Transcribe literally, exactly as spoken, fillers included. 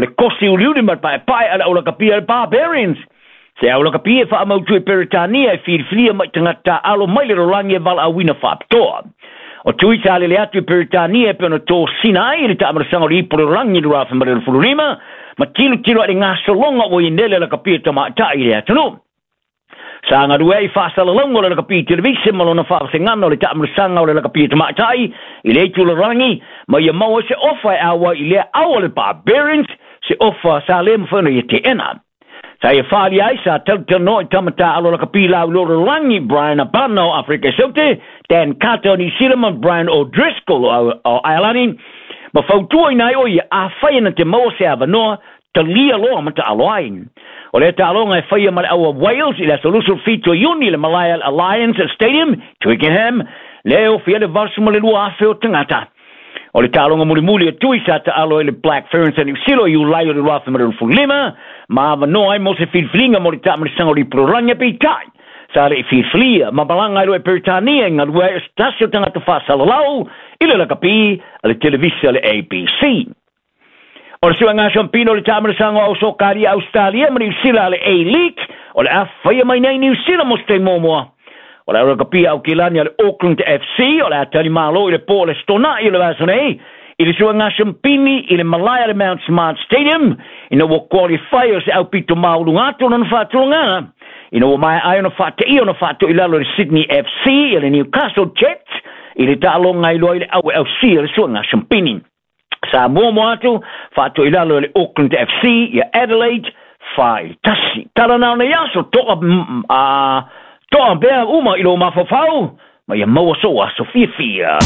le kosi uliuli ma le paepae a le aulakapi a le Barbarians. Se aulakapi e faamautu e Peretania e filifilia mai tagata taaalo mai le lalolagi e valaauina faapitoa. O Tui sa lele atu i Peretania e pei ona tosina ai i le taamalasaga o le ipu o le lalolagi i le afe ma le lima, ma tilotilo ai le gasologa ua i nele lakapi e tamaitai i le atunuu. Sa galue ai faasalalauga o le lakapi televise ma lona faavasegana o le taamalasaga o le lakapi e tamaitai i le itu lalolagi, ma ia maua ai se ofa e auai i lea au o le Barbarians, se ofa sa le mafai ona ia teena. Sa ia faaalia ai sa talatalanoa i tama taaalo lakapi lauiloa o le lalolagi Bryan Habana o Aferika i Saute, Dan Carter o Niusila ma Brian O'Driscoll o Ailani, ma fautuaina ai o ia afai na te maua se avanoa talia loa ma taalo ai. O lea taaloga e faia ma le au a Wales i le aso luasefulu fitu o Iuni i le Malaya Alliance Stadium, Twickenham, lea e ofia le valusefulu ma le lua afe o tagata. O le taaloga mulimuli a Tui sa taalo ai le Black Ferns a Niu Sila i Iulai o le lua afe ma le luasefulu lima, ma avanoa ai mo se filifiliga mo le taamalasaga o le ipu lalolagi a peitai. Sa le i filifilia ma malaga ai loa e Peretania e galue ai o se tasi o tagata faasalalau i le lakapi a le televisa le A B C. O le suega siampino o le taamalasaga o Ausokalia Australia ma Niu Sila a le A-League, o le a faia mai nei Niu Sila mo se taimi muamua. O le aulakapi au kilani a le Auckland F C, o le a talimalo i le po o le Stonai o le vaiaso nei, i le suega siampini i le malae a le Mount Smart Stadium, ina ua qualify o se aupito mauluga atu lona faatulagaga, ina ua maea ai ona faateia ona faatoilalo i le Sydney F C i le Newcastle Jets, i le taaloga ai loa i le au e ausia le suega siampini. Sa muamua atu faatoilalo i le Auckland F C ia Adelaide fa i le tasi. Tala nao nei aso toa a toa pea uma i lo mafaufau, ma ia maua so aso fiafia.